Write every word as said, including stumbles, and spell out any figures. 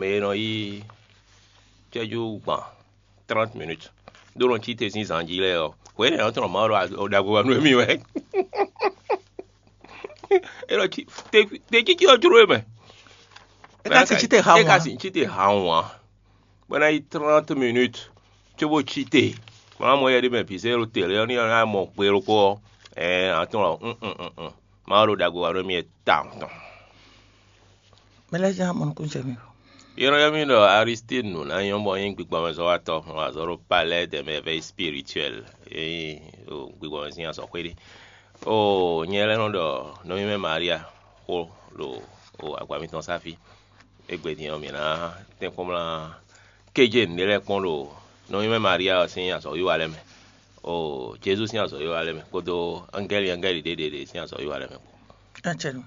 E nɔ yí cɛ́jú gban trente minutes ɖó nɔ cí te sín zǎn jí lɛ́ɛ ɔ́, hwě nɛ́ ɔ́ tɔn Mawu ɖo ɖagbe wa nú émí wɛ. É nɔ cí te te cící ɔ́ jló e mɛ. É ka si cí te ha é ka wɔn. Si cí te ha wɔn ǎ. Bɔ é ná yí trente minutes cóbó cí te. Mɔ mɔ yɛ ɖé mɛ bǐ zé ɖo tě lé ɔ́ ní ɔ́ ná mɔ gbe ɖokpó ɔ́. Ɛɛ atɔn ɔ́. Mawu ɖo ɖagbe wa nú émí wɛ tawun tɔn. Mɛ lɛ́ ján mɔ nukúnjɛ mi. Yɔ́nɔ́ yɔ́ mì ɖɔ Aristide nǔ ná nyɔ́ bɔ nyí gbigbɔmɛzɔ́watɔ́, un wa azɔ̌ ɖo Palais des Merveilles Spirituelles, é nyí ɖo gbigbɔmɛ sín azɔ̌xwé ɖé. Oo, nyɛ lɛ́ nɔ ɖɔ nɔví mɛ Maria xó ɖo o agba mitɔn sá fí. Égbé din ɔ́, mǐ ná tɛ́nkpɔ́n mlá kéjé nǔɖé lɛ́ɛ kpɔ́n ɖo nɔví mɛ Maria ɔ́ sín azɔ̌wiwa lɛ́ɛ mɛ. Oo, Jezu sín azɔ̌wiwa lɛ́ɛ mɛ kpódó angɛ́li angɛ́li ɖěɖěɖě sín azɔ̌wiwa lɛ́ɛ mɛ kpó. Acɛnu.